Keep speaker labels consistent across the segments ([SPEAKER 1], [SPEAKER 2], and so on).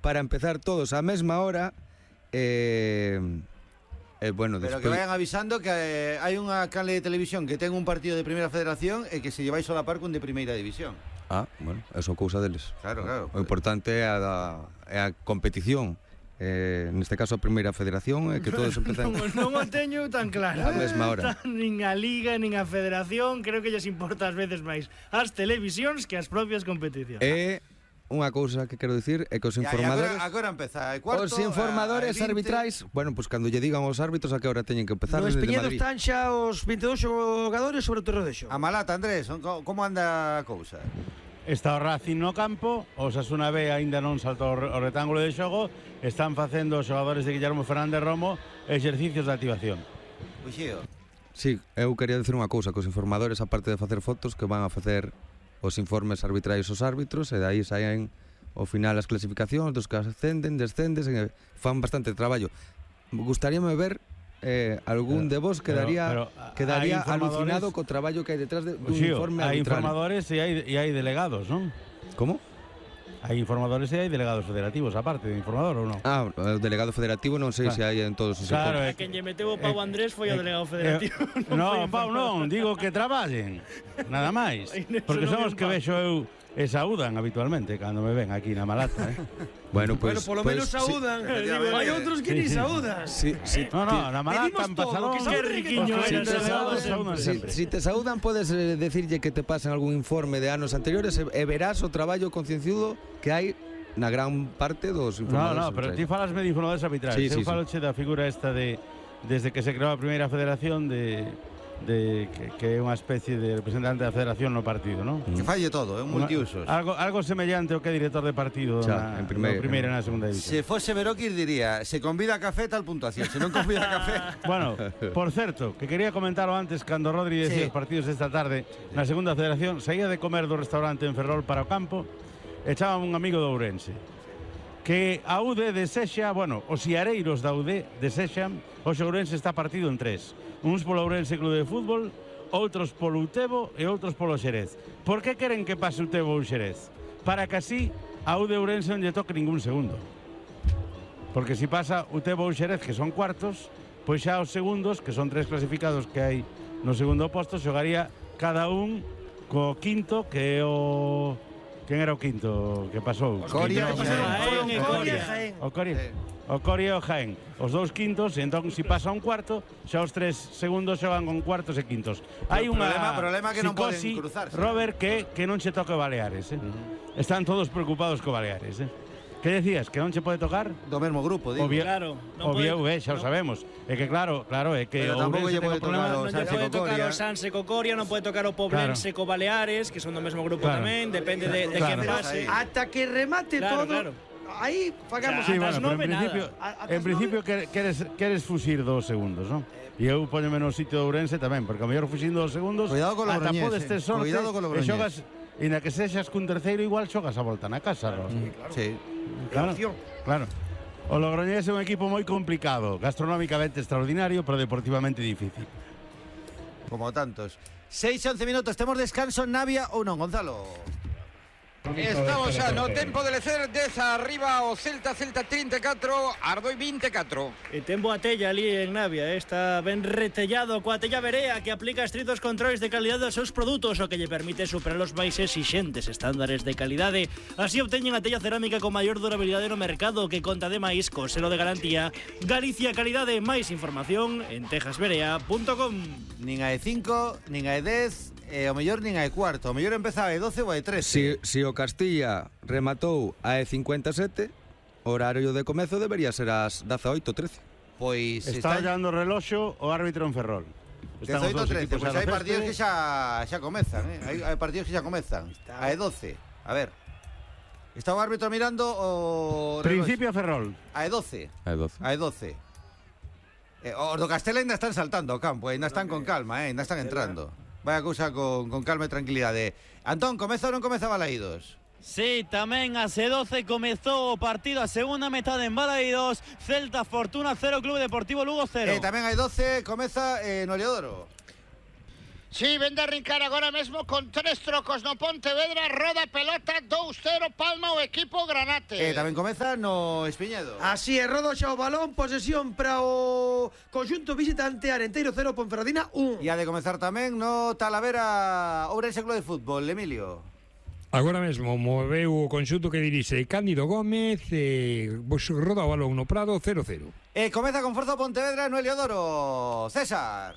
[SPEAKER 1] para empezar todos á mesma hora. Bueno,
[SPEAKER 2] pero que vayan avisando que hai unha canle de televisión que ten un partido de Primeira Federación e que se lleváis a la par cun de Primeira División.
[SPEAKER 1] Bueno, eso cousa deles.
[SPEAKER 2] Claro.
[SPEAKER 1] O importante é a competición. Neste caso a Primeira Federación é que todos empezan
[SPEAKER 3] non o teño tan claro
[SPEAKER 1] a mesma hora.
[SPEAKER 3] Nin a Liga, nin a Federación. Creo que lles importa ás veces máis as televisións que as propias competicións.
[SPEAKER 1] Unha cousa que quero dicir é que os informadores
[SPEAKER 2] agora empeza cuarto,
[SPEAKER 1] os informadores arbitrais, bueno, pues cando lle digan aos árbitros a que hora teñen que empezar.
[SPEAKER 4] No Espeñedo están xa os 22 xogadores sobre o terreno de xogo.
[SPEAKER 2] A Malata, Andrés, como anda a cousa?
[SPEAKER 5] Está o Racing no campo, o Osasuna B aínda non saltou o rectángulo de xogo. Están facendo os xogadores de Guillermo Fernández Romo exercicios de activación.
[SPEAKER 2] Uxío.
[SPEAKER 1] Sí, eu quería dicir unha cousa, que os informadores, aparte de facer fotos, que van a facer os informes arbitrais aos árbitros, e dai saen ao final as clasificacións dos que ascenden, descenden, e fan bastante traballo. Gustaríame ver algún de vos quedaría alucinado co traballo que hai detrás dun informe arbitral.
[SPEAKER 5] Hai informadores e hai delegados, non?
[SPEAKER 1] Como?
[SPEAKER 5] Hai informadores e hai delegados federativos, aparte de informador, ou non?
[SPEAKER 1] O delegado federativo non sei se hai en todos os
[SPEAKER 3] informes. A quen lle meteu o Pau Andrés foi o delegado federativo.
[SPEAKER 5] Non, Pau non, digo que traballen, nada máis. Porque son os que vexo eu e saúdan habitualmente cando me ven aquí na Malata,
[SPEAKER 1] Bueno, pues
[SPEAKER 4] polo menos saúdan. Hai outros que ni saúdan.
[SPEAKER 5] No, na Malata han pasado
[SPEAKER 3] que riquiño
[SPEAKER 1] Si te saúdan, podes decirlle que te pasen algún informe de anos anteriores e verás o traballo concienciudo que hai na gran parte dos informadores.
[SPEAKER 5] No, pero ti falasme de informadores arbitrais. Eu faloche da figura esta de desde que se creou a Primeira Federación que é unha especie de representante da federación no partido, non?
[SPEAKER 2] Que falle todo, é un multiusos.
[SPEAKER 5] Algo semellante ao que é director de partido en primeira e na segunda división.
[SPEAKER 2] Se fose Veroquis diría, se convida a café tal puntuación, se non convida a café.
[SPEAKER 5] Bueno, por certo, que quería comentarlo antes cando Rodri decía os partidos desta tarde na segunda federación, saía de comer do restaurante en Ferrol para o campo e echaba un amigo do Ourense que a UD desexa, bueno, os iareiros da UD desexan o Ourense está partido en tres. Uns polo Ourense Clube de Fútbol, outros polo Utebo e outros polo Xerez. Por que queren que pase Utebo ou Xerez? Para que así a UD Ourense non lle toque ningún segundo. Porque se pasa Utebo ou Xerez, que son cuartos, pois xa os segundos, que son tres clasificados que hai no segundo posto, xogaría cada un co quinto, que é o... Quen era o quinto que pasou?
[SPEAKER 2] O Coria
[SPEAKER 5] e o Jaén. Os dous quintos, e entón se pasa un cuarto, xa os tres segundos xogan con cuartos e quintos. Hai unha
[SPEAKER 2] problema que non poden cruzarse.
[SPEAKER 5] Robert, que non che toque Baleares, Están todos preocupados co Baleares, Que decías? Que non che pode tocar?
[SPEAKER 2] Do mesmo grupo, digo.
[SPEAKER 3] Claro.
[SPEAKER 5] Obvio, xa o sabemos. É que claro, é que
[SPEAKER 2] pero tampouco lle pode tocar
[SPEAKER 3] o Sanse co Coria, non pode tocar o Poblense co Baleares, que son do mesmo grupo tamén, depende de quen pase.
[SPEAKER 4] Ata que remate todo. Aí pagamos
[SPEAKER 5] en principio queres fuxir 2 segundos, non? E eu póñome no sitio de Ourense tamén, porque a mellor fuxindo 2 segundos, ata podes ter sorte e xogas, e na que sexas cun terceiro igual xogas a volta na casa, non?
[SPEAKER 2] Sí.
[SPEAKER 5] Claro. O Logroñés é un equipo moi complicado, gastronómicamente extraordinario, pero deportivamente difícil.
[SPEAKER 2] Como tantos. 6-11 minutos, temos descanso en Navia ou non, Gonzalo?
[SPEAKER 6] Estamos xa no tempo de lecer desa arriba o Celta 34, Ardoi 24.
[SPEAKER 3] E ten boa tella ali en Navia, está ben retellado coa tella Verea, que aplica estritos controles de calidade aos seus produtos, o que lle permite superar os máis exixentes estándares de calidade. Así obteñen a tella cerámica con maior durabilidade no mercado, que conta ademais co selo de garantía Galicia Calidade. Máis información en tejasverea.com.
[SPEAKER 2] Nin a E5, nin a E10, e o mellor nin a E4, o mellor empezaba a E12 ou a E13.
[SPEAKER 1] Si o Castilla rematou a E57, o horario de comezo debería ser as 18:13.
[SPEAKER 2] Pois
[SPEAKER 5] está olhando o reloxo o árbitro en Ferrol.
[SPEAKER 2] 18:13, pois hai partidos que xa comezan, hai partidos que xa comezan. A E12, a ver. Está o árbitro mirando o
[SPEAKER 5] Principio Ferrol.
[SPEAKER 2] A E12. A E12. Os do Castela ainda están saltando ao campo, ainda están con calma, ainda están entrando. Vaya cousa con calma e tranquilidade. Antón, comeza ou non comeza Balaídos?
[SPEAKER 7] Sí, tamén a C12 comezou o partido a segunda metade en Balaídos. Celta Fortuna 0, Clube Deportivo Lugo 0.
[SPEAKER 2] Tamén hai 12, comeza no Leodoro.
[SPEAKER 8] Sí, vende a arrincar agora mesmo con 3 trocos no Pontevedra, roda pelota 2-0, palma o equipo Granate.
[SPEAKER 2] Tamén comeza no Espiñedo.
[SPEAKER 4] Así é, roda xa o balón, posesión para o conxunto visitante, Arenteiro 0, Ponferradina 1.
[SPEAKER 2] E ha de comezar tamén no Talavera Ourense Club de Fútbol, Emilio.
[SPEAKER 9] Agora mesmo moveu o conxunto que dirixe Cándido Gómez e roda o balón no Prado 0-0.
[SPEAKER 2] Comeza con forza o Pontevedra no Heliodoro, César.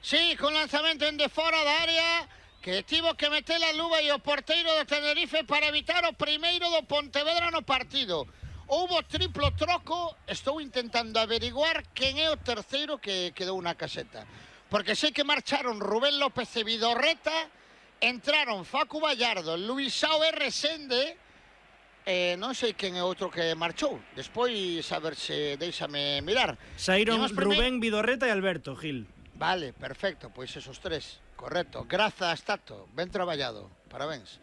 [SPEAKER 8] Sí, con lanzamento en de fora da área, que tivo que meter a luva e o porteiro do Tenerife para evitar o primeiro do Pontevedra no partido. Houbo triplo troco, estou intentando averiguar quen é o terceiro que quedou na caseta. Porque sei que marcharon Rubén López e Vidorreta, entraron Facu Vallardo, Luisao e Resende, non sei quen é outro que marchou. Despois, a ver se deixame mirar.
[SPEAKER 3] Saíron Rubén, Vidorreta e Alberto Gil.
[SPEAKER 8] Vale, perfecto, pois esos 3, correcto. Grazas, Tato, ben traballado, parabéns.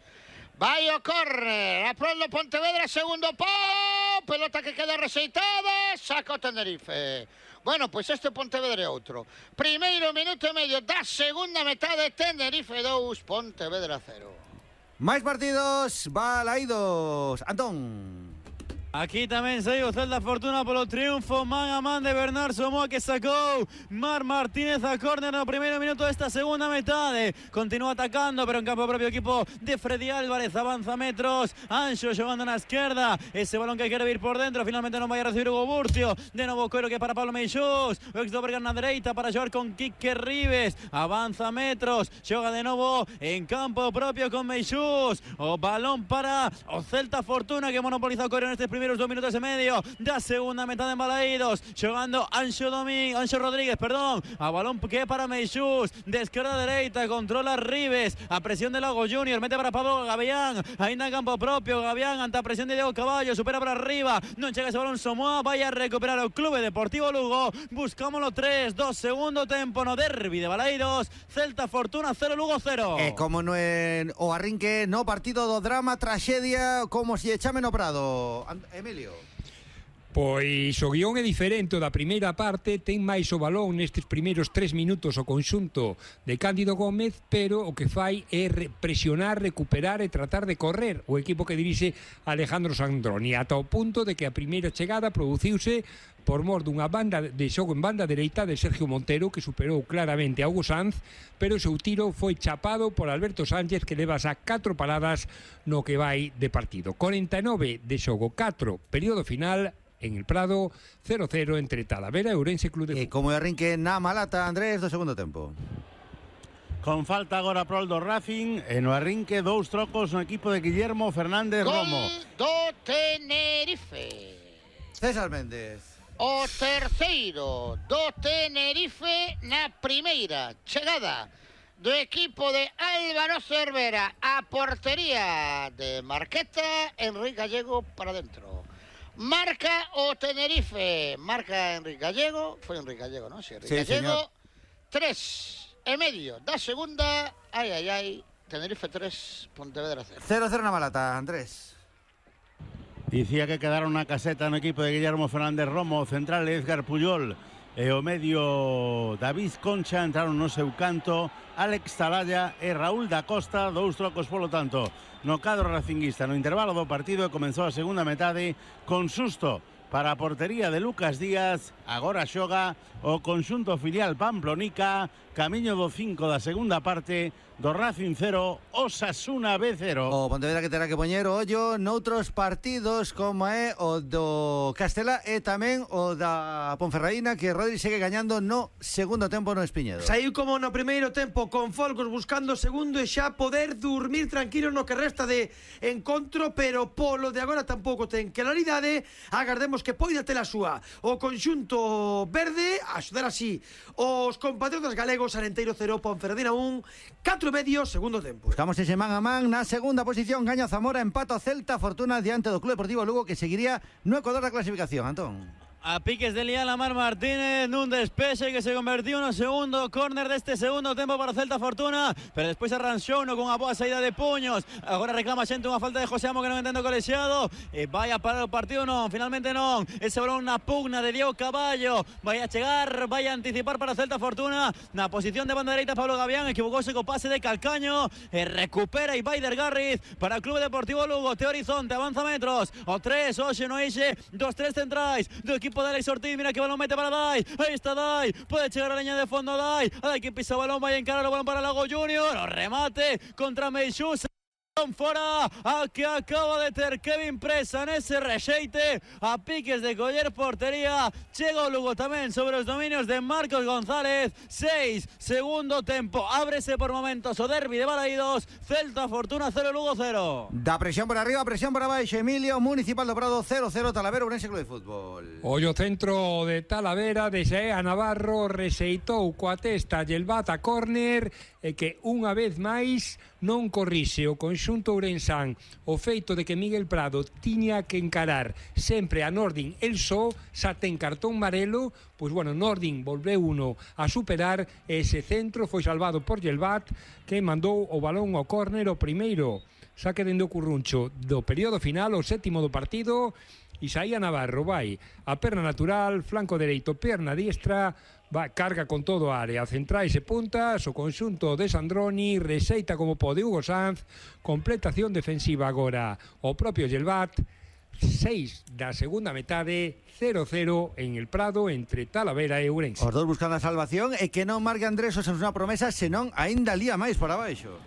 [SPEAKER 8] Vai o córner, a prol do Pontevedra, segundo pau, pelota que queda rexeitada, saca o Tenerife. Bueno, pois este Pontevedra é outro. Primeiro minuto e medio da segunda metade, Tenerife 2, Pontevedra 0.
[SPEAKER 2] Máis partidos, balaídos, Antón.
[SPEAKER 7] Aquí tamén saiu Celta Fortuna polo triunfo man a man de Bernard Somoa, que sacou Mar Martínez a córner no primeiro minuto desta segunda metade. Continúa atacando, pero en campo propio equipo de Freddy Álvarez, avanza metros, Anxo xogando na esquerda, ese balón que quere vir por dentro, finalmente non vai a recibir Hugo Burcio, de novo Coiro que para Pablo Meixós, o ex do Bergan na dereita para xogar con Quique Ribes, avanza metros, xoga de novo en campo propio con Meixós, o balón para o Celta Fortuna que monopoliza o Coiro neste primeros 2 minutos e medio da segunda metade en Balaídos, xogando Anxo Rodríguez, a balón que é para Meixús, de esquerda a dereita, controla Ribes, a presión de Lago Junior, mete para Pablo Gavián, ainda en campo propio, Gavián ante a presión de Diego Caballo, supera para arriba, non chega ese balón Somoa, vai a recuperar o Clube Deportivo Lugo, buscámoslo 3-2, segundo tempo no derbi de Balaídos, Celta Fortuna 0, Lugo 0.
[SPEAKER 2] Como no en o arrinque no partido do drama, traxedia, como se chame no Prado, Emilio.
[SPEAKER 9] Pois o guión é diferente da primeira parte, ten máis o balón nestes primeiros 3 minutos o conxunto de Cándido Gómez, pero o que fai é presionar, recuperar e tratar de correr o equipo que dirixe Alejandro Sandroni, ata o punto de que a primeira chegada produciuse por mor dunha banda de xogo en banda dereita de Sergio Montero, que superou claramente a Hugo Sanz, pero o seu tiro foi chapado por Alberto Sánchez, que leva xa 4 paradas no que vai de partido. 49 de xogo, 4 período final. En el Prado, 0-0 entre Talavera e Ourense Club de Fútbol.
[SPEAKER 2] Como arrinque na Malata, Andrés, do segundo tempo.
[SPEAKER 5] Con falta agora prol do Racing, e no arrinque 2 trocos no equipo de Guillermo Fernández Romo.
[SPEAKER 8] Gol do Tenerife.
[SPEAKER 2] César Méndez.
[SPEAKER 8] O terceiro do Tenerife na primeira chegada do equipo de Álvaro Cervera a portería de Marqueta, Enrique Gallego para dentro. Marca o Tenerife, marca Enrique Gallego, foi Enrique Gallego, non? Sí, Enrique Gallego, 3,5 da segunda, Tenerife 3, Pontevedra 0.
[SPEAKER 2] 0-0 na Malata, Andrés.
[SPEAKER 5] Dicía que quedaron na caseta no equipo de Guillermo Fernández Romo, central Edgar Puyol e o medio David Concha, entraron no seu canto Alex Talaya e Raúl da Costa, 2 trocos polo tanto no cadro racinguista no intervalo do partido, e comenzou a segunda metade con susto para a portería de Lucas Díaz. Agora xoga o conxunto filial Pamplonica, camiño do 5 da segunda parte, do Racing 0, Osasuna B 0.
[SPEAKER 2] O Pontevedra que terá que poñer o ollo noutros partidos, como é o do Castela e tamén o da Ponferradina, que Rodri segue gañando no segundo tempo no Espiñedo.
[SPEAKER 4] Saiu como no primeiro tempo, con Folgos buscando o segundo e xa poder dormir tranquilo no que resta de encontro, pero polo de agora tampouco ten claridade. Agardemos que poida ter a súa o conxunto verde, a axudar así os compatriotas galegos. Arenteiro 0, Ponferradina 1, 4,5 segundo tempo.
[SPEAKER 2] Buscamos ese man a man na segunda posición, gaña Zamora, empata o Celta Fortuna diante do Club Deportivo Lugo, que seguiría no Ecuador da clasificación, Antón.
[SPEAKER 7] A piques de liar a Mar Martínez nun despexe que se convertiu no segundo córner deste segundo tempo para o Celta Fortuna, pero despois arranxou con a boa saída de puños. Agora reclama xente unha falta de José Amo que non entendo o colexiado, e vai a parar o partido non, finalmente non. Ese balón na pugna de Diego Caballo, vai a chegar, vai a anticipar para o Celta Fortuna na posición de banda dereita. Pablo Gavián equivocouse co pase de Calcaño e recupera Ibaider Garriz para o Clube Deportivo Lugo. Te Horizonte avanza metros, o 3, hoxe no eixe dos 3 centrais do equipo de Alex Ortiz. Mira que balón mete para Dai, aí está Dai, pode chegar a leña de fondo Dai, que pisa o balón, vai a encarar o balón para Lago Junior, o remate contra Meixús. Fora a que acaba de ter Kevin Presa nese rexeite a piques de coller portería. Chega o Lugo tamén sobre os dominios de Marcos González. 6, segundo tempo, ábrese por momentos o derbi de Balaídos. Celta Fortuna 0, Lugo 0.
[SPEAKER 2] Da presión por arriba, presión por abaixo. Emilio, Municipal do Prado 0-0, Talavera, Ourense Club de Fútbol.
[SPEAKER 9] Ollo centro de Talavera, de Xea Navarro, rexeitou coa testa Yelvat a córner e que unha vez máis non corrixe o conxunto ourensán o feito de que Miguel Prado tiña que encarar sempre a Nordin el só, xa ten cartón marelo, pois bueno, Nordin volveu uno a superar, ese centro foi salvado por Yelvat, que mandou o balón ao córner, o primeiro saque dende o curruncho do período final, o sétimo do partido. Isaía Navarro vai a perna natural, flanco dereito, perna diestra, va, carga con todo a área, centrais e puntas, o conxunto de Sandroni, rexeita como pode Hugo Sanz, completación defensiva agora o propio Yelvat. 6 da segunda metade, 0-0 en el Prado entre Talavera e Ourense.
[SPEAKER 2] Os dous buscando a salvación e que non marque Andrés Osasuna unha promesa, senón aínda lía máis por abaixo.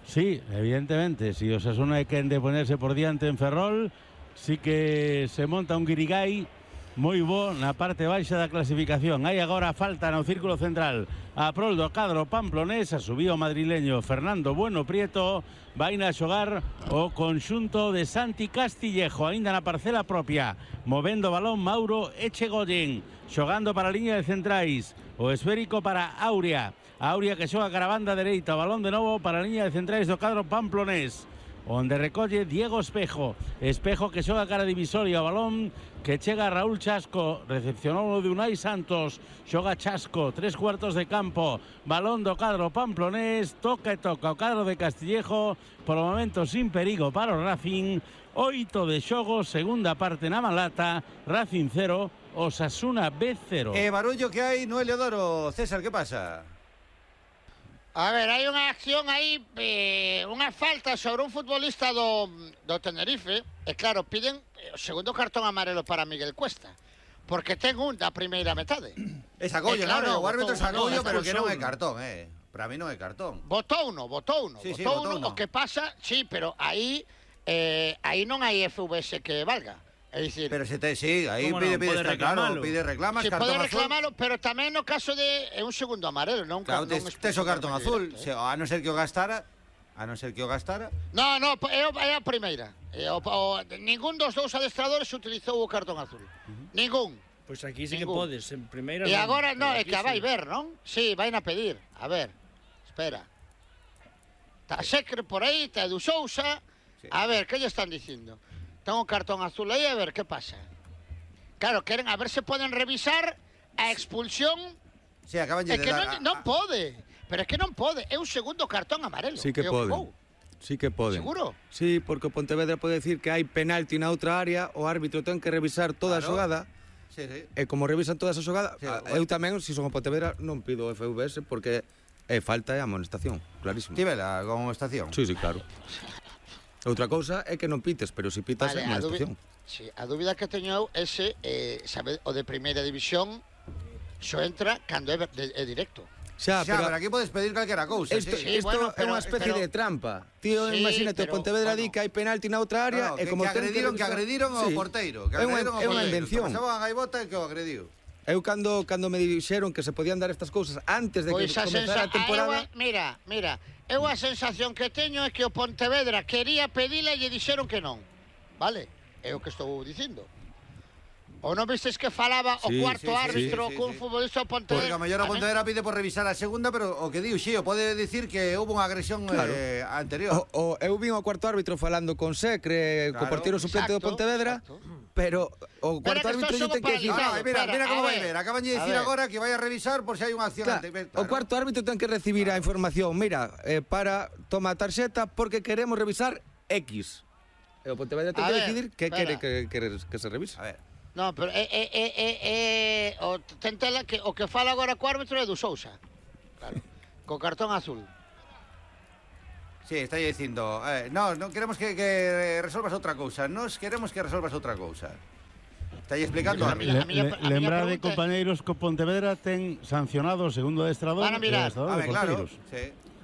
[SPEAKER 5] Sí, evidentemente, si Osasuna é quen de ponerse por diante en Ferrol, sí que se monta un guirigay moi bo na parte baixa da clasificación. Hai agora falta no círculo central a prol do cadro pamplonés, a subiu o madrileño Fernando Bueno Prieto, vai a xogar o conxunto de Santi Castillejo, aínda na parcela propia, movendo o balón Mauro Echegoyen, xogando para a liña de centrais, o esférico para Aurea, que xoga cara a banda dereita, o balón de novo para a liña de centrais do cadro pamplonés, onde recolle Diego Espejo que xoga cara divisoria, o balón que chega a Raúl Chasco, recepcionou de Unai Santos, xoga Chasco, 3/4 de campo, balón do cadro pamplonés, toca e toca o cadro de Castillejo, por o momento sin perigo para o Racing. 8 de xogo, segunda parte na Malata, Racing 0, Osasuna B 0.
[SPEAKER 2] Barullo que hai no Heliodoro. César, que pasa?
[SPEAKER 8] A ver, hai unha acción aí, unha falta sobre un futbolista do Tenerife, e claro, piden o segundo cartón amarelo para Miguel Cuesta, porque ten un da primeira metade.
[SPEAKER 2] É sacollo, claro, o árbitro sacollo, pero que non é cartón, para mí non é cartón.
[SPEAKER 8] Votou uno.
[SPEAKER 2] Sí,
[SPEAKER 8] O que pasa, sí, pero aí non hai FVS que valga. É dicir,
[SPEAKER 2] pero se te sí, aí pide claro, pide reclamas,
[SPEAKER 8] se
[SPEAKER 2] cartón
[SPEAKER 8] pode
[SPEAKER 2] azul.
[SPEAKER 8] reclamarlo, pero tamén no caso de un segundo amarelo, non
[SPEAKER 2] claro, tes o cartón azul, a non ser que o gastara. No, é a primeira. Ningún dos dous adestradores utilizou o cartón azul. Ningún.
[SPEAKER 3] Pois aquí sí que podes, en primeira.
[SPEAKER 8] E agora non, é que vai ver, non? Sí, vai a pedir. A ver. Espera. Está Secre por aí, está Edu Sousa. A ver, que lle están dicindo? Ten un cartón azul aí, a ver, que pasa? Claro, queren a ver se poden revisar a expulsión.
[SPEAKER 2] Sí, acaban de
[SPEAKER 8] dar. Non pode, pero é que non pode. É un segundo cartón amarelo.
[SPEAKER 1] Sí que poden. Sí que poden.
[SPEAKER 8] Seguro?
[SPEAKER 1] Sí, porque o Pontevedra pode decir que hai penalti na outra área, o árbitro ten que revisar toda a xogada.
[SPEAKER 2] Sí.
[SPEAKER 1] E como revisan toda esa xogada, eu tamén, se son o Pontevedra, non pido o FVS porque é falta e amonestación, clarísimo.
[SPEAKER 2] Tivela con amonestación?
[SPEAKER 1] Sí, claro. Outra cousa é que non pites, pero se pitas é amonestación.
[SPEAKER 8] Sí, a dúbida que teño é se, sabe, o de primeira división xo entra cando é directo.
[SPEAKER 2] Xa, pero aquí podes pedir calquera cousa.
[SPEAKER 1] Isto é unha especie de trampa. Tío, imagínate, o Pontevedra di que hai penalti na outra área e como
[SPEAKER 2] que agrediron ao porteiro.
[SPEAKER 1] É unha invención.
[SPEAKER 2] Pasaban a gaivota e que o agrediu.
[SPEAKER 1] Eu cando me dixeron que se podían dar estas cousas antes de que comezara a temporada...
[SPEAKER 8] Mira, eu a sensación que teño é que o Pontevedra quería pedila e lle dixeron que non. Vale? É o que estou dicindo. O non vistes que falaba o cuarto árbitro cun futbolista do Pontevedra?
[SPEAKER 2] Porque a mellor a Pontevedra pide por revisar a segunda, pero o que diu Xío pode dicir que houve unha agresión anterior.
[SPEAKER 1] Eu vin o cuarto árbitro falando con Secre, co porteiro suplente do Pontevedra, pero o cuarto árbitro ten que dicir...
[SPEAKER 2] Mira como vai ver, acaban de dicir agora que vai a revisar por se hai unha acción antes.
[SPEAKER 1] O cuarto árbitro ten que recibir a información, mira, para toma a tarxeta porque queremos revisar X. E o Pontevedra ten que decidir que quere que se revise.
[SPEAKER 8] A ver. No, pero tentela que o que fala agora co árbitro é do Sousa. Claro. Co cartón azul.
[SPEAKER 2] Sí, está dicindo, no queremos que resolvas outra cousa, nos queremos que resolvas outra cousa. Está aí explicando a mí.
[SPEAKER 5] Lembrar de compañeiros que Pontevedra ten sancionado o segundo adestrador e adestrador de porteiros.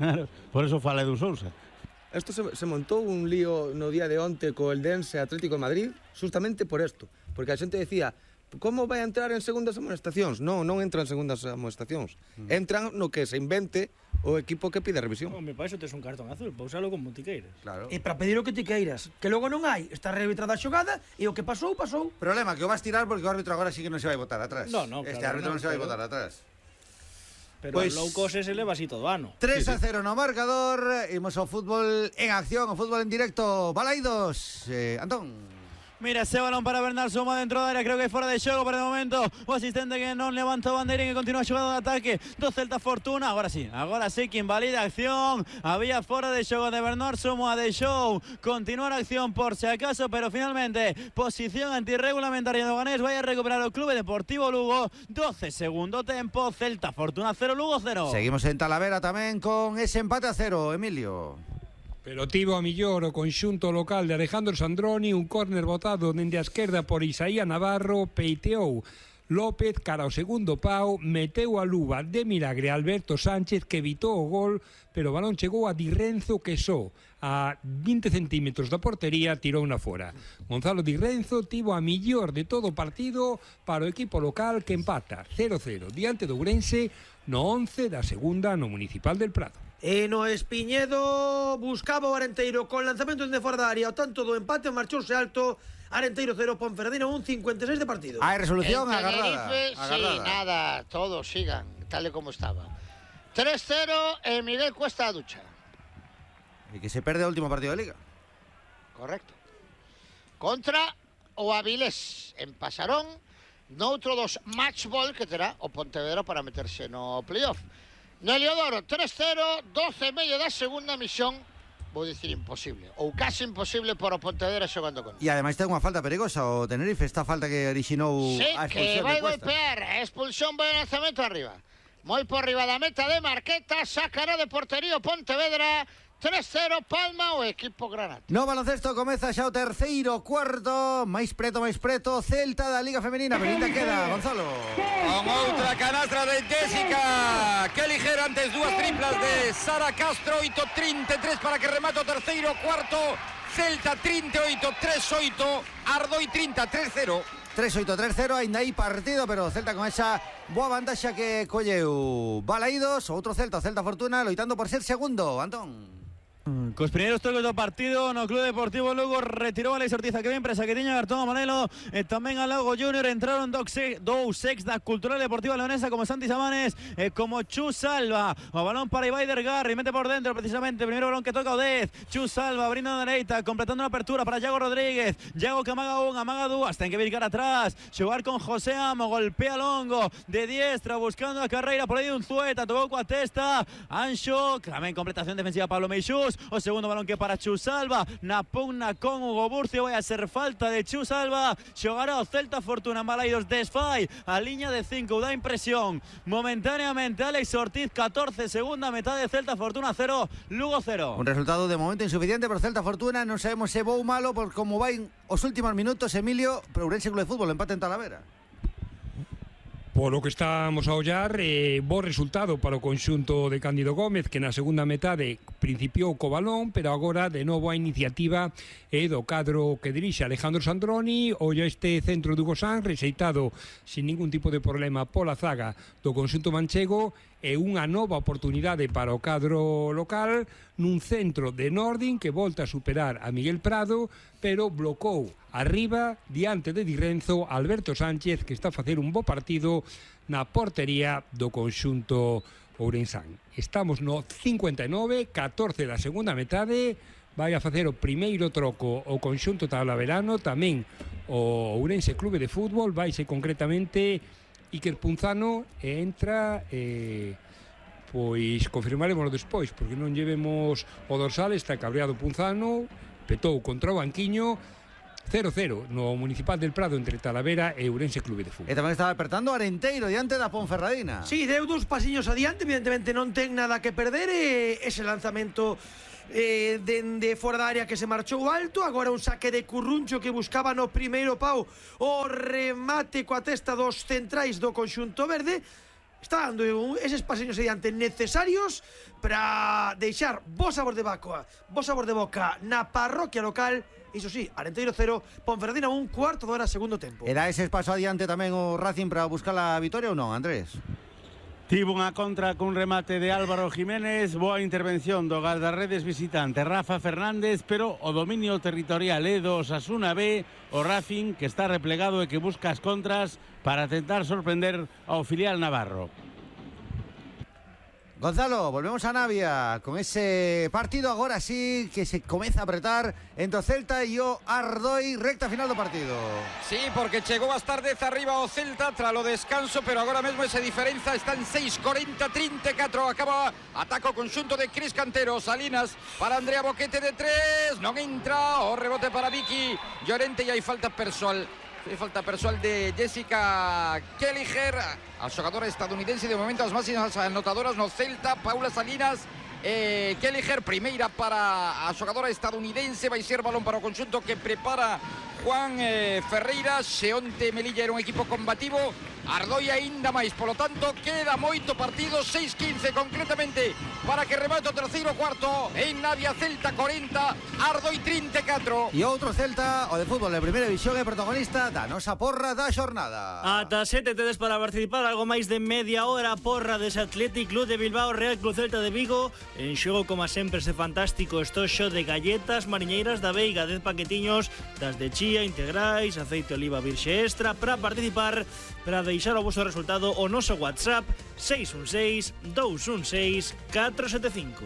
[SPEAKER 2] Claro.
[SPEAKER 5] Por eso fala do Sousa.
[SPEAKER 1] Esto se montou un lío no día de onte co Eldense Atlético de Madrid, justamente por esto. Porque a xente decía, como vai a entrar en segundas amonestacións? Non entran en segundas amonestacións. Entran no que se invente o equipo que pide a revisión.
[SPEAKER 3] Me parece que tes un cartón azul, para usalo como ti queiras.
[SPEAKER 2] Claro.
[SPEAKER 4] E para pedir o que ti queiras, que logo non hai, está rearbitrada a xogada e o que pasou.
[SPEAKER 2] Problema, que o vas tirar porque o árbitro agora sí que non se vai botar atrás. Este árbitro non se vai botar atrás.
[SPEAKER 3] Pero pues, low cost ese leva así todo ano.
[SPEAKER 2] 3-0 no marcador, imos ao fútbol en acción, ao fútbol en directo. Balaidos, Antón.
[SPEAKER 7] Mira, ese balón para Bernal Soma dentro da área, creo que é fora de xogo para de momento. O asistente que non levanta a bandeira e que continúa xogando de ataque do Celta Fortuna. Agora sí que invalida a acción. Había fora de xogo de Bernal Soma, deixou continuar a acción por si acaso, pero finalmente posición antirregulamentaria do Ganés. Vai a recuperar o Clube Deportivo Lugo. 12 segundo tempo, Celta Fortuna 0, Lugo 0.
[SPEAKER 2] Seguimos en Talavera tamén con ese empate a 0, Emilio.
[SPEAKER 9] Pero tivo a millor o conxunto local de Alejandro Sandroni, un córner botado dende a esquerda por Isaías Navarro, peiteou López cara ao segundo pau, meteu a luva de milagre Alberto Sánchez que evitou o gol, pero o balón chegou a Di Renzo que só a 20 centímetros da portería tirou na fora. Gonzalo Di Renzo tivo a millor de todo o partido para o equipo local que empata 0-0 diante do Ourense no 11 da segunda no Municipal del Prado.
[SPEAKER 4] E no Espiñedo buscaba o Arenteiro con lanzamento de fora da área, o tanto do empate marchouse alto. Arenteiro 0, Ponferradina 1, 56 de partido.
[SPEAKER 2] Hai resolución agarrada.
[SPEAKER 8] Sí, nada, todos sigan tal e como estaba. 3-0 e Miguel Cuesta a ducha.
[SPEAKER 2] E que se perde o último partido de Liga.
[SPEAKER 8] Correcto. Contra o Avilés en Pasarón, noutro dos matchball que terá o Pontevedra para meterse no playoff. No Heliodoro, 3-0, 12 e medio da segunda misión, vou dicir imposible, ou casi imposible para o Pontevedra xogando con.
[SPEAKER 2] E ademais ten unha falta perigosa o Tenerife, esta falta que orixinou a expulsión de Cuesta.
[SPEAKER 8] Sí, que vai golpear, a expulsión vai lanzamento arriba. Moi por riba da meta de Marqueta, sacará de portería o Pontevedra. 3-0, Palma o equipo Granate.
[SPEAKER 2] No baloncesto comeza xa o terceiro cuarto, máis preto, Celta da Liga Femenina, pero ainda queda, Gonzalo.
[SPEAKER 6] Con outra canastra de Jessica, que ligera antes dúas triplas de Sara Castro, 8-33 para que remate o terceiro cuarto, Celta 38, 3-8, Ardoi 30, 3-0.
[SPEAKER 2] 3-8, 3-0, ainda hai partido, pero Celta con esa boa vantaxa que colleu Balaidos, outro Celta, Celta Fortuna, loitando por ser segundo, Antón.
[SPEAKER 7] Cos primeiros tocos do partido no Clube Deportivo Lugo retirou a Alex Ortiz, que ben presa que tiña cartón amarelo, e tamén a Lago Junior entraron dous ex da Cultural Deportiva Leonesa como Santi Samanes e como Chu Salva. O balón para Ibai Dergarri, mete por dentro precisamente, primeiro balón que toca o 10, Chu Salva abrindo na dereita, completando a apertura para Iago Rodríguez, Iago que amaga un, amaga dúas, ten que vir cara atrás, xogar con José Amo, golpea longo de diestra, buscando a carreira por aí un Zueta, tocou coa testa, Anxo, tamén completación defensiva Pablo Meixús. O segundo balón que para Chu Salva, na pugna con Hugo Burcio, vai a ser falta de Chu Salva, xogará o Celta Fortuna. Balaidos desfai a liña de 5, dá impresión momentáneamente Alex Ortiz, 14, segunda metade, Celta Fortuna 0, Lugo 0.
[SPEAKER 2] Un resultado de momento insuficiente por Celta Fortuna, non sabemos se bo ou malo por como vai os últimos minutos, Emilio, pero Ourense Club de Fútbol empate en Talavera.
[SPEAKER 9] Polo que estamos a ollar, bo resultado para o conxunto de Cándido Gómez, que na segunda metade principiou co balón, pero agora de novo a iniciativa é do cadro que dirixe Alejandro Sandroni. Olla este centro de Hugo Sanz, rexeitado sin ningún tipo de problema pola zaga do conxunto manchego, e unha nova oportunidade para o cadro local nun centro de Nordin que volta a superar a Miguel Prado, pero blocou arriba, diante de Di Renzo, Alberto Sánchez, que está a facer un bo partido na portería do conxunto ourensán. Estamos no 59, 14 da segunda metade, vai a facer o primeiro troco o conxunto Talaverano, tamén o Ourense Clube de Fútbol, vaise concretamente Iker Punzano e entra... pois confirmaremos despois, porque non llevemos o dorsal, está cabreado Punzano, petou contra o banquiño, 0-0 no Municipal del Prado entre Talavera e Ourense Clube de Fútbol.
[SPEAKER 2] E tamén estaba apertando Arenteiro diante da Ponferradina.
[SPEAKER 4] Sí, deu dos pasiños adiante, evidentemente non ten nada que perder, ese lanzamento dende fora da área que se marchou alto, agora un saque de Curruncho que buscaba no primeiro pau o remate coa testa dos centrais do conxunto verde. Está dando eses pasiños adiante necesarios para deixar bo sabor de boca na parroquia local. Iso sí, Arenteiro 0, Ponferradina 1, cuarto de hora, segundo tempo.
[SPEAKER 2] Era ese paso adiante tamén o Racing para buscar a vitoria ou non, Andrés?
[SPEAKER 5] Tivo unha contra cun remate de Álvaro Jiménez, boa intervención do guardarredes visitante Rafa Fernández, pero o dominio territorial é do Osasuna B, o Racing que está replegado e que busca as contras para tentar sorprender ao filial navarro.
[SPEAKER 2] Gonzalo, volvemos a Navia con ese partido agora sí que se comeza a apretar entre o Celta e o Ardoi, recta final do partido.
[SPEAKER 6] Sí, porque chegou as tardes arriba o Celta tras o descanso, pero agora mesmo esa diferenza está en 6:40-34. Acaba ataca o conxunto de Cris Cantero. Salinas para Andrea Boquete de 3, non entra, o rebote para Vicky Llorente e hai falta persoal. Falta persoal de Jessica Kelliher, a xogadora estadounidense, de momento as máximas anotadoras no Celta, Paula Salinas, Kelliher, primeira para a xogadora estadounidense, vai ser balón para o conxunto que prepara Juan Ferreira. Xeonte Melilla era un equipo combativo, Ardoi aínda máis, polo tanto queda moito partido, 6-15 concretamente para que remate o terceiro cuarto en Navia. Celta 40, Ardoi 34.
[SPEAKER 2] E outro Celta, o de fútbol de primeira división, é protagonista da nosa porra da xornada.
[SPEAKER 3] Ata 7 tedes para participar, algo máis de media hora. Porra dese Athletic Club de Bilbao, Real Club Celta de Vigo. En xogo, como sempre, ese fantástico estoxo de galletas mariñeiras da Veiga, 10 paquetiños das de chía integrais, aceite de oliva virxe extra. Para participar, para deixar o vosso resultado, o noso WhatsApp 616-216-475.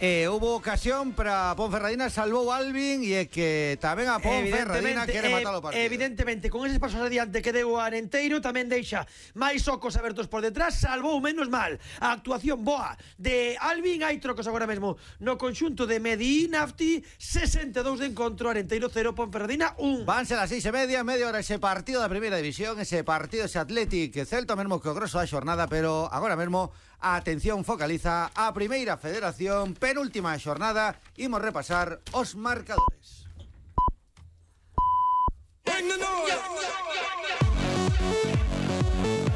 [SPEAKER 2] Hubo ocasión para Ponferradina, salvou Alvin, e é que tamén a Ponferradina quere matar o partido.
[SPEAKER 4] Evidentemente, con eses pasos adiante que deu a Arenteiro, tamén deixa máis ocos abertos por detrás, salvou menos mal. A actuación boa de Alvin, hai trocos agora mesmo no conxunto de Medi Nafti, 62 de encontro, Arenteiro 0, Ponferradina 1.
[SPEAKER 2] Vanse las 6:30, media hora ese partido da primeira división, ese partido, ese Athletic Celta, mesmo que o grosso da xornada, pero agora mesmo a atención focaliza a Primeira Federación, penúltima xornada, imos repasar os marcadores.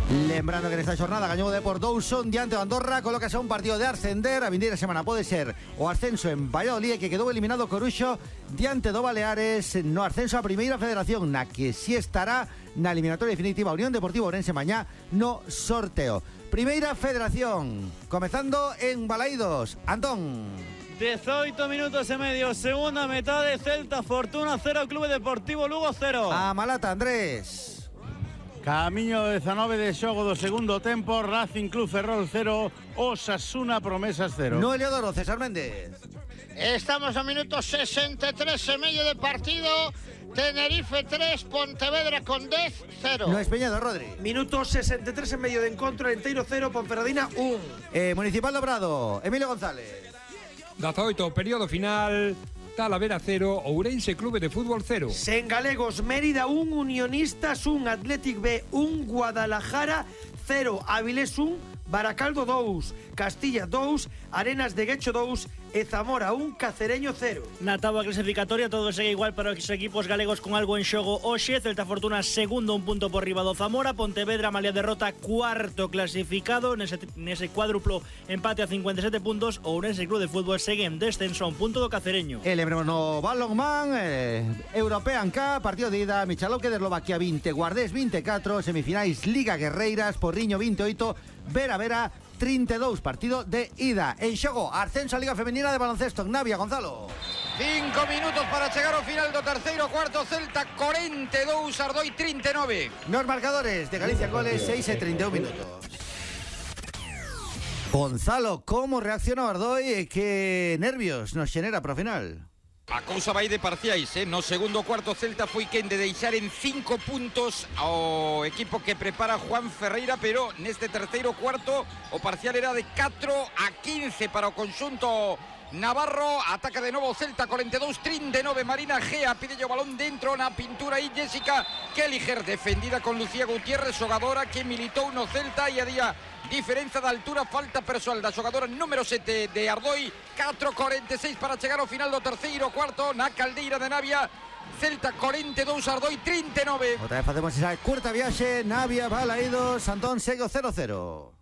[SPEAKER 2] Lembrando que nesta xornada gañou o Depor 2-1 diante do Andorra, colócase a un partido de ascender. A vindeira semana pode ser o ascenso en Valladolid, que quedou eliminado Coruxo diante do Baleares no ascenso a Primeira Federación, na que si estará na eliminatoria definitiva Unión Deportiva Ourense mañá no sorteo. Primeira Federación, comezando en Balaídos. Antón.
[SPEAKER 7] 18 minutos e medio, segunda metade, Celta Fortuna 0, Clube Deportivo Lugo 0.
[SPEAKER 2] A Malata, Andrés.
[SPEAKER 5] Camiño 19 de xogo do segundo tempo, Racing Club Ferrol 0, Osasuna Promesas 0.
[SPEAKER 2] No Heliodoro, César Méndez.
[SPEAKER 8] Estamos a minuto 63 e medio de partido. Tenerife 3, Pontevedra con 10, 0.
[SPEAKER 2] No Espeñado, Rodri.
[SPEAKER 4] Minuto 63 en medio de encontro, Arenteiro 0, Ponferradina 1.
[SPEAKER 2] Municipal Dobrado, Emilio González.
[SPEAKER 9] 18, período final, Talavera 0, Ourense Clube de Fútbol 0.
[SPEAKER 4] Sen galegos, Mérida 1, Unionistas 1, Athletic B 1, Guadalajara 0, Avilés 1, Baracaldo 2, Castilla 2, Arenas de Guecho 2 e Zamora 1, Cacereño 0.
[SPEAKER 3] Na táboa clasificatoria todo segue igual para os equipos galegos con algo en xogo hoxe. Celta Fortuna segundo, un punto por riba do Zamora. Pontevedra, malia derrota, cuarto clasificado nese cuádruplo empate a 57 puntos. Ourense Club de Fútbol segue en descenso a un punto do Cacereño.
[SPEAKER 2] Lembremos no Balonmán, European Cup, partido de ida, Michalovce de Eslovaquia 20, Guardés 24, semifinais Liga Guerreiras, Porriño 28, Vera 32, partido de ida. En xogo, ascenso a Liga Femenina de Baloncesto en Navia, Gonzalo.
[SPEAKER 6] 5 minutos para chegar ao final do terceiro cuarto. Celta 42, Ardoi 39.
[SPEAKER 2] Nos marcadores de Galicia Goles, 6 e 31 minutos. Gonzalo, como reaccionou Ardoi e que nervios nos xenera para o final?
[SPEAKER 6] A cousa vai de parciais, No segundo cuarto Celta foi quen de deixar en 5 puntos ao equipo que prepara Juan Ferreira, pero neste terceiro cuarto o parcial era de 4-15 para o conxunto navarro. Ataca de novo Celta, 42-39, Marina Gea pide o balón dentro na pintura e Jessica Kelliher, defendida con Lucía Gutiérrez, xogadora que militou no Celta e a día diferenza de altura, falta persoal da xogadora número 7 de Ardoi. 4:46 para chegar ao final do terceiro cuarto na Caldeira de Navia. Celta 42, Ardoi 39.
[SPEAKER 2] Outra vez facemos esa curta viaxe, Navia, Balaídos, Antón segue o 0-0.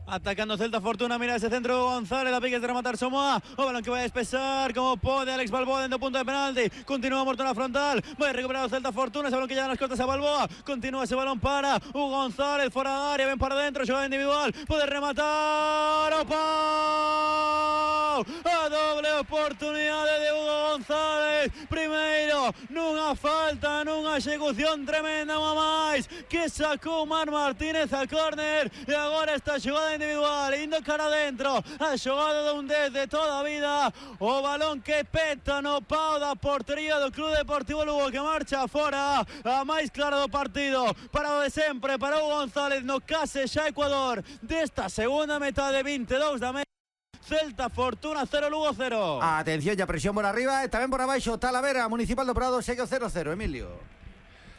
[SPEAKER 7] Atacando Celta, Fortuna, mira ese centro González, la pique de rematar Somoa, o balón que va a despesar como pode Alex Balboa dentro punto de penalti, continúa Morto na frontal, vai recuperar o Celta, Fortuna, ese balón que llega nas costas a Balboa, continúa ese balón para Hugo González, fora da área, ven para dentro, jugada individual, pode rematar, o pau, a doble oportunidade de Hugo González, primeiro, nunha falta, nunha execución tremenda, unha máis, que sacou Mar Martínez a córner, e agora esta xogada individual, indo cara adentro, a xogada de un 10 de toda a vida, o balón que peta no pau da portería do Club Deportivo Lugo, que marcha fora, a máis clara do partido, para o de sempre, para Hugo González, no case xa Ecuador, desta segunda metade, 22 da media. Celta, Fortuna 0, Lugo 0.
[SPEAKER 2] Atención, ya presión por arriba e tamén por abaixo, Talavera, Municipal do Prado, segue o 0-0, Emilio.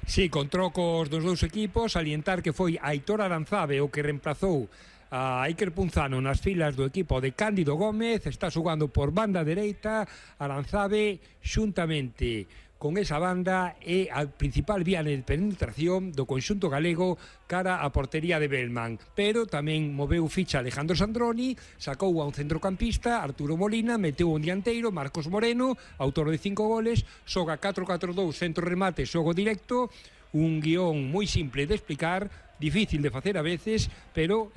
[SPEAKER 9] Sí, con trocos dos dous equipos, salientar que foi Aitor Aranzabe o que reemplazou a Iker Punzano nas filas do equipo de Cándido Gómez. Está xogando por banda dereita. Aranzabe xuntamente con esa banda é a principal vía de penetración do conxunto galego cara a portería de Belman, pero tamén moveu ficha Alejandro Sandroni, sacou a un centrocampista, Arturo Molina, meteu un dianteiro, Marcos Moreno, autor de 5 goles, xoga 4-4-2, centro remate, xogo directo, un guión moi simple de explicar, difícil de facer a veces, pero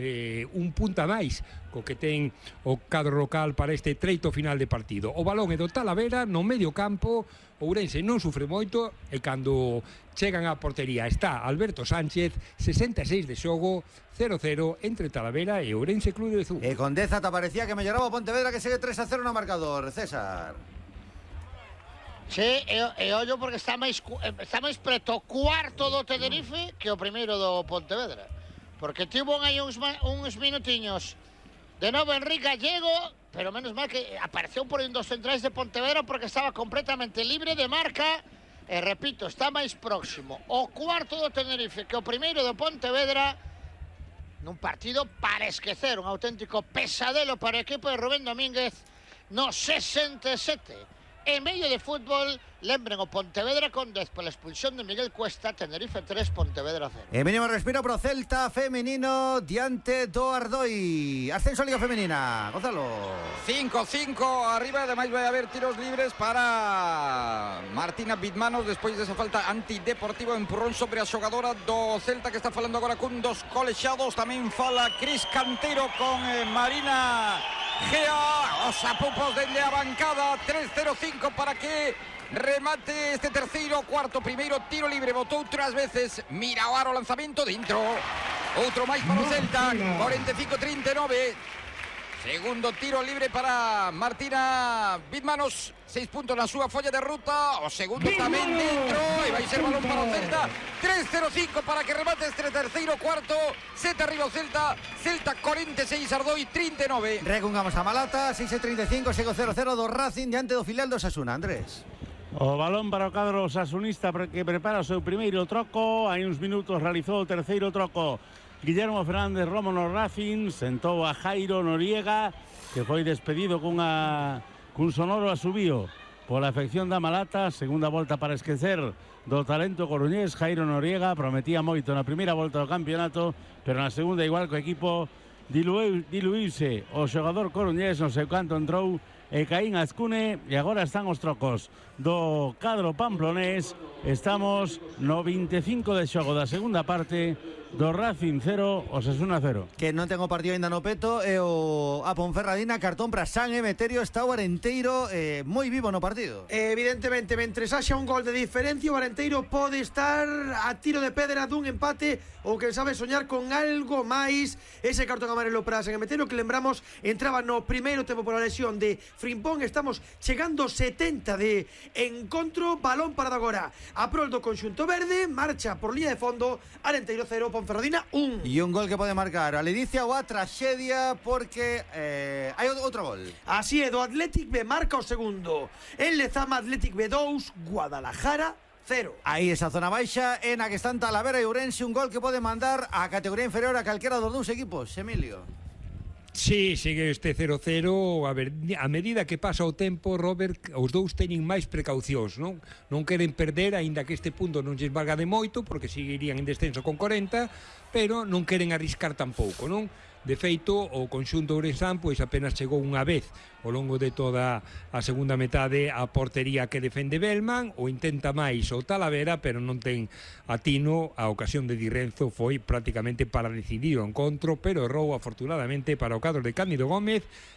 [SPEAKER 9] un punta máis co que ten o cadro local para este treito final de partido. O balón é do Talavera no medio campo, Ourense non sufre moito e cando chegan á portería está Alberto Sánchez, 66 de xogo, 0-0 entre Talavera e Ourense Club de Zú.
[SPEAKER 2] E con Deza te parecía que melloraba o Pontevedra, que segue 3-0 no marcador, César.
[SPEAKER 8] Sí, e ollo porque está máis preto cuarto do Tenerife que o primeiro do Pontevedra. Porque tivo aí uns minutiños de novo Enrique Gallego, pero menos mal que apareceu por un dos centrais de Pontevedra porque estaba completamente libre de marca. E repito, está máis próximo o cuarto do Tenerife que o primeiro do Pontevedra, nun partido para esquecer, un auténtico pesadelo para o equipo de Rubén Domínguez no 67. En medio de fútbol, lembren o Pontevedra con 10 pola expulsión de Miguel Cuesta, Tenerife 3, Pontevedra 0.
[SPEAKER 2] E mínimo respiro pro Celta femenino diante do Ardoi. Ascenso a Liga Femenina, Gonzalo.
[SPEAKER 6] 5-5 arriba, ademais vai haber tiros libres para Martina Bitmanos despois desa falta antideportiva, empurrón sobre a xogadora do Celta, que está falando agora cun dos colexados. Tamén fala Cris Cantero con Marina Gea, os apupos dende a bancada. 3-0-5 para que remate este terceiro cuarto. Primeiro tiro libre, botou 3 veces Mirao, o lanzamento dentro, outro máis para o Celta. 45-39. Segundo tiro libre para Martina Bitmanos, 6 puntos na súa folla de ruta. O segundo tamén dentro e vai ser balón para o Celta. 3-0-5 para que remate este terceiro cuarto. 7 arriba o Celta. Celta 46, Ardoi 39.
[SPEAKER 2] Recungamos a Malata, 6-35, segue 0-0 do Racing diante do filial do Osasuna, Andrés.
[SPEAKER 5] O balón para o cadro osasunista que prepara o seu primeiro troco. Hai uns minutos realizou o terceiro troco Guillermo Fernández Romo no Racing, sentou a Jairo Noriega, que foi despedido cun sonoro asubío pola afección da Malata. Segunda volta para esquecer do talento coruñés. Jairo Noriega prometía moito na primeira volta do campeonato, pero na segunda, igual co equipo, diluíse o xogador coruñés, non sei canto entrou e Caín Azcune, e agora están os trocos do cadro pamplonés. Estamos no 25 de xogo da segunda parte, do Racing 0, Osasuna 0.
[SPEAKER 2] Que non ten o partido ainda no peto e o a Ponferradina cartón para San Emeterio, está o Arenteiro moi vivo no partido.
[SPEAKER 4] Evidentemente, mentres haxa un gol de diferencia, o Arenteiro pode estar a tiro de pedra dun empate ou que sabe soñar con algo máis. Ese cartón amarelo para San Emeterio, que lembramos entraba no primeiro tempo por a lesión de Frimpón. Estamos chegando 70 de encontro, balón parado agora a prol do conxunto verde, marcha por línea de fondo, Arenteiro 0, Ponferradina 1.
[SPEAKER 2] E un gol que pode marcar a ledicia ou a traxedia, porque hai outro gol.
[SPEAKER 4] Así é, do Athletic B marca o segundo. En Lezama, Athletic B 2, Guadalajara 0.
[SPEAKER 2] Aí esa zona baixa en a que están Talavera e Ourense, un gol que pode mandar a categoría inferior a calquera dos dous equipos, Emilio.
[SPEAKER 9] Sí, segue este 0-0. A ver, a medida que pasa o tempo, Robert, os dous teñen máis precaucións, non? Non queren perder, aínda que este punto non lles valga de moito, porque seguirían en descenso con 40, pero non queren arriscar tampouco, non? De feito, o conxunto ourensán pois apenas chegou unha vez ao longo de toda a segunda metade a portería que defende Belman, o intenta máis o Talavera, pero non ten atino. A ocasión de Di Renzo foi prácticamente para decidir o encontro, pero errou afortunadamente para o cadro de Cándido Gómez,